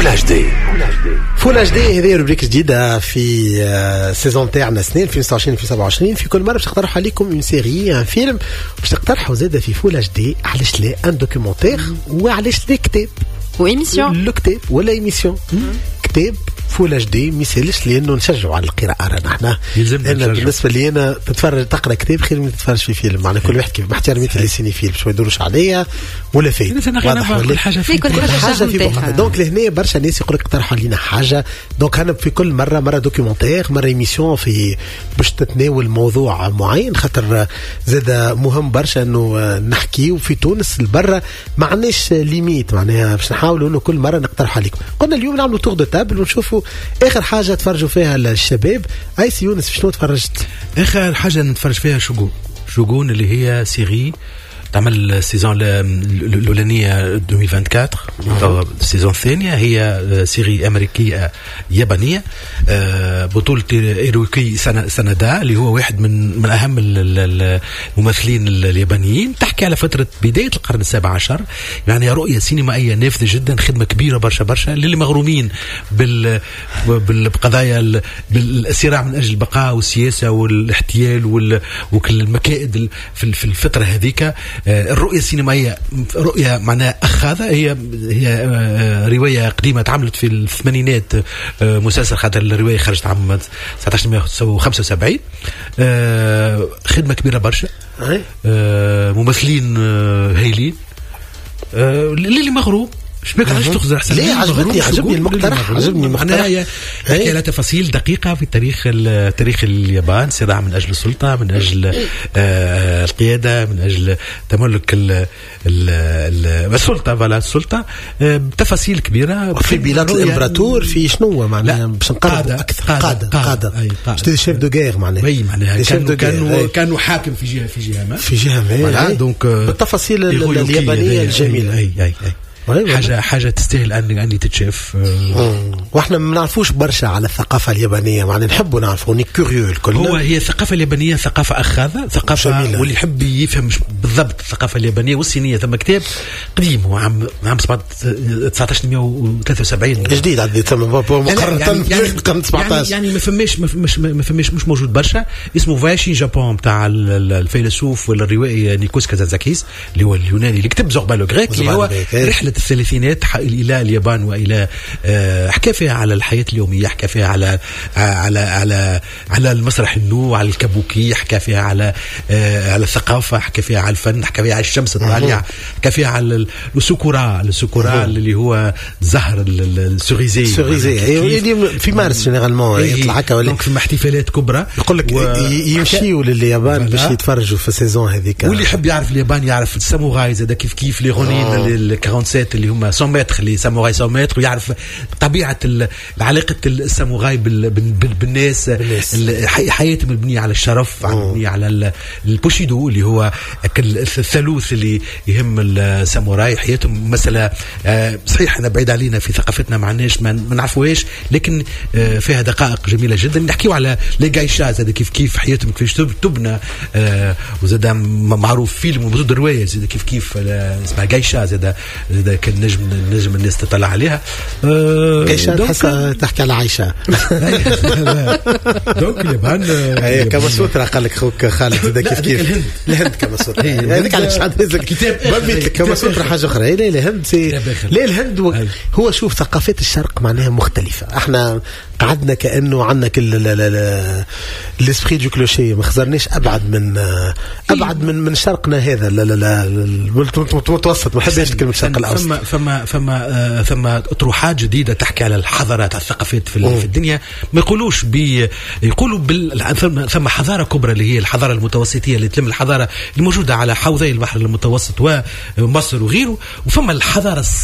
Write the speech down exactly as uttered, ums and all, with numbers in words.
Full HD. Full HD، هذه rubrique جديدة في saison تاعنا سنين ألفين وستة وعشرين ألفين وسبعة وعشرين. في كل مرة باش نقترحوا عليكم une série، un film، باش نقترحوا زاده في Full HD، علاش لا un documentaire، وعلاش لا كتاب و émission. لو كتاب ولا émission. كتاب Full HD ما يسالش، لانه نشجعوا على القراءه. رانا احنا يلزمنا انا نشجعوا. بالنسبة لي انا تتفرج، تقرا كتاب خير من تتفرج في فيلم. معناها كل واحد كيف، مع احترامي les cinéphiles باش ما يدوروش عليا ولا فايت. واضح ولا كل حاجة في كل حاجة حاجة في نتاعها. بوقتها. donc لهنا برشا ناس يقول لك اقترحوا علينا حاجه. donc انا في كل مره، مرة documentaire، مرة émission في باش تتناول موضوع معين، خاطر زاد مهم برشا انه نحكيو في تونس البرة، ما عندناش limite. معناها باش نحاولوا انه كل مرة نقترح عليكم. قلنا اليوم نعملوا tour de table ونشوفوا اخر حاجة تفرجوا فيها الشباب. اي سي يونس، شنو تفرجت؟ اخر حاجة نتفرج فيها شوغون، شوغون اللي هي série تعمل saison الاولانية ألفين وأربعة وعشرين، ال saison الثانيه. هي série امريكية يابانيه، آه، بطوله هيرويوكي سانادا اللي هو واحد من من اهم الممثلين اليابانيين. تحكي على فترة بداية القرن السابع عشر، يعني رؤية سينمائية نافذة جدا، خدمة كبيرة برشا برشا للي مغرومين بال بالقضايا، بالصراع من اجل البقاء والسياسة والاحتيال وكل المكائد في الفترة هذيك. آه، الرؤية السينمائية رؤية معناها اخاذه. هي هي آه، رواية قديمة تعملت في الثمانينات آه، مسلسل، خاطر الرواية خرجت عام ألف وتسعمية وخمسة وسبعين. خدمة كبيرة برشا، ممثلين هايلين. اللي مغروم، شبيك؟ علاش تخزر؟ احسن. ليه؟ عجبتني، عجبني المقترح، عجبني المقترح. معناها تحكي على تفاصيل دقيقة في تاريخ تاريخ اليابان، صراع من اجل السلطه، من اجل آه القياده، من اجل تملك ال ال السلطه، voilà السلطه، آه تفاصيل كبيره. في بلاد الامبراطور، في شنو معناها باش نقربوا اكثر؟ قاده قاده، قاده، chefs de guerre معناها. oui، معناها كانوا كانوا كانوا حاكم في جهه في جهه ما. في جهة ما، donc بالتفاصيل اليابانية الجميله. اي اي اي حاجه حاجة تستاهل ان ان تتشاف. واحنا ما نعرفوش برشا على الثقافة اليابانيه، معناها نحبوا نعرفوا، on est curieux الكل. هو هي الثقافة اليابانية ثقافة اخاذه، ثقافه جميلة. واللي يحب يفهم بالضبط الثقافة اليابانية والصينيه، ثم كتاب قديم، هو عام عام ألف وتسعمية وثلاثة وسبعين. جديد عندي ثم مقارنة يعني يعني القرن سبعطاش. يعني, يعني ما فماش ما فماش، مش موجود برشا، اسمه Voyage in Japan تاع الفيلسوف ولا الروائي نيكوس كازانزاكيس، اللي هو اليوناني اللي كتب Zorba le Grec، اللي هو رحله الثلاثينات الى اليابان والى آه، حكى فيها على الحياة اليوميه، حكى فيها على على على على المسرح النو، على الكابوكي، حكى فيها على آه، على الثقافه، حكى فيها على الفن، حكى فيها على الشمس الطالعه، حكى فيها على الساكورا، الساكورا اللي هو زهر ال cerisier. cerisier في مارس généralement يطلع هكا. ولا donc فما احتفالات كبرى. يقول لك و... يمشيوا لليابان باش يتفرجوا في ال saison هذيك. واللي يحب يعرف اليابان يعرف الساموراي زاد كيف كيف، les rônins ال سبعة وأربعين اللي هما مية متر، les samouraïs مية متر، ويعرف طبيعة علاقة الساموراي بالناس، حياتهم المبنية على الشرف، مبنية على البوشيدو اللي هو الثالوث اللي يهم الساموراي. حياتهم مسالة آه، صحيح احنا بعيد علينا في ثقافتنا، ما عندناش، ما نعرفوهاش، لكن آه، فيها دقائق جميلة جدا. نحكيو على les geishas زاد كيف كيف، حياتهم كيفاش تبنى، آه، وزاد معروف فيلم وموجود رواية زاد كيف كيف اسمها جايشا، زاد زاد كان نجم نجم الناس تطلع عليها. جايشا تحس تحكي على عايشه. donc اليابان. هي كاما سوترا قال لك خوك خالد زاد كيف كيف. الهند. الهند كاما سوترا هذيك علاش كتاب. كاما سوترا حاجة اخرى. لا الهند، لا الهند. هو شوف، ثقافات الشرق معناها مختلفه. احنا قعدنا كانه عندنا كل l'esprit du clocher، ما خزرناش ابعد من ابعد من من شرقنا هذا المتوسط. ما نحبش كلمة الشرق الاوسط. فما فما فما ثم اطروحات جديدة تحكي على الحضارات، على الثقافات في, في الدنيا. ما يقولوش بي يقولوا بال ثم حضارة كبرى اللي هي الحضارة المتوسطيه، اللي تلم الحضارة الموجودة على حوضي البحر المتوسط ومصر وغيره، وفما الحضارة الصينية.